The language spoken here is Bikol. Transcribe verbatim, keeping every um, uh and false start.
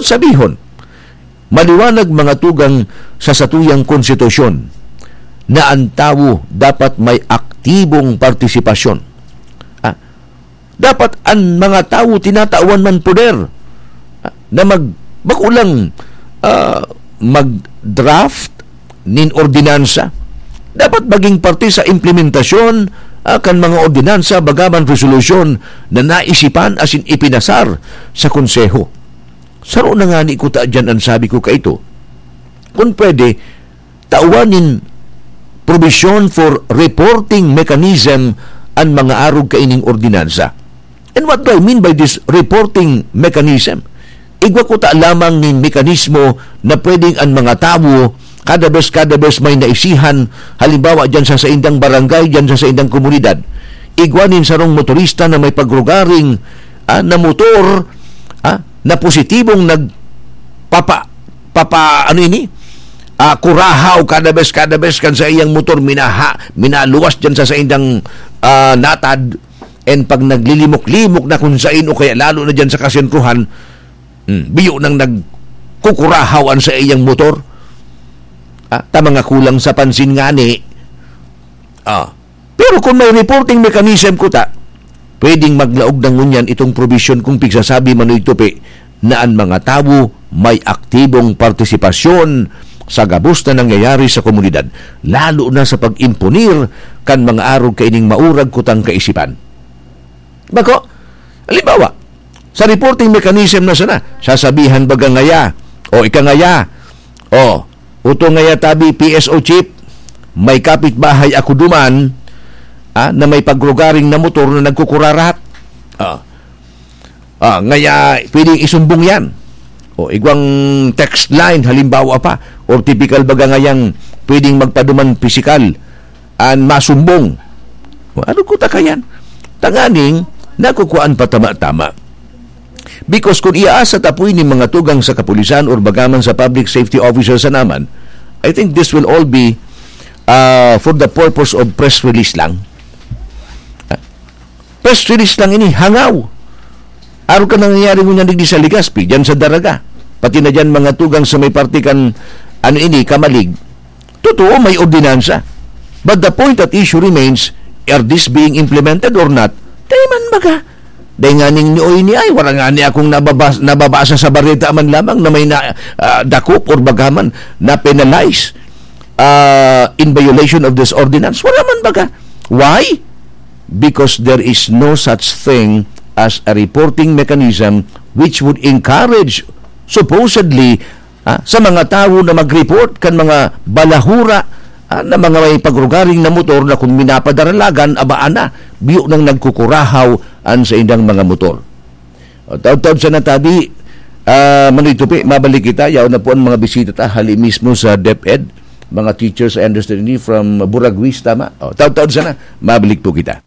Sabihon, maliwanag, mga tugang, sa satuyang konstitusyon na an tawo dapat may aktibong partisipasyon. Ah, dapat an mga tawo tinatawan man poder, ah, na mag-, bako lang, ah, mag-draft nin ordinansa. Dapat maging parte sa implementasyon, ah, kan mga ordinansa, bagaman resolusyon na naisipan asin ipinasar sa Konseho. Saro na ngani kuta diyan an sabi ko kaito. Kun pwede, tawan nin provision for reporting mechanism an mga arog kaining ordinansa. And what do I mean by this reporting mechanism? Igwa kuta lamang nin mekanismo na pwedeng an mga tawo, kada bes, kada bes may naisihan, halimbawa, diyan sa saindang barangay, diyan sa saindang komunidad, igwa nin sarong motorista na may pagrugaring, ah, na motor, ah, na positibong nagpapa-, papa-, ano ini? Ah, kurahaw kada bes, kada bes kan sa iyang motor minaha-, minaluwas diyan sa saindang, ah, natad, and pag naglilimok-limok na kun sain o kaya lalo na diyan sa kasentruhan, hmm, biyo nang nagkukurahaw an sa iyang motor. Ah, ta mga kulang sa pansin ngani. Ah, pero kung may reporting mechanism kuta, pwedeng maglaog na ngunyan itong provision kung pigsasabi man o igtupi na an mga tawo may aktibong partisipasyon sa gabos na nangyayari sa komunidad, lalo na sa pag-imponir kan mga arog kaining maurag kutang kaisipan. Bako, halimbawa, sa reporting mechanism na sana, sasabihan baga ngaya, o ika ngaya, o, uto ngaya tabi, P S O chief, may kapitbahay ako duman, ah, na may pagrugaring na motor na nagkukurarat. Ah. Ah, ngaya pwedeng isumbong yan. O, igwang text line, halimbawa pa, or typical baga ngayang pwedeng magpaduman pisikal, an masumbong. Ano ko ta kayan? Tanganing, nakukuhaan pa tama-tama. Because kung iaasa ta po ini mga tugang sa kapulisan or bagaman sa public safety officer sa naman, I think this will all be, ah, for the purpose of press release lang. Press release lang ini, hangaw. Arog kan nangyayari ngunyan digdi sa Legazpi, diyan sa Daraga. Pati na diyan mga tugang sa may parte kan, ano ini, Camalig. Totoo, may ordinansa. But the point at issue remains, are this being implemented or not? Dai man baga. Dai nganing ni oy ni ay, wala ngani akong nababas-, nababasa sa bareta man lamang na may na, ah, dakop or bagaman na penalize, ah, in violation of this ordinance. Wala man baga. Why? Because there is no such thing as a reporting mechanism which would encourage, supposedly, ah, sa mga tawo na mag-report kan mga balahura, ah, na mga may pagrugaring na motor na kung minapadaralagan, abaan na, biyo nang nagkukurahaw an saindang mga motor. O, taud-taud sana tabi, ah, Manoy Tupi, mabalik kita. Yaon na po ang mga bisita ta, hali mismo sa DepEd, mga teachers, I understand ini, from Buraguis, tama? O, taud-taud sana, mabalik po kita.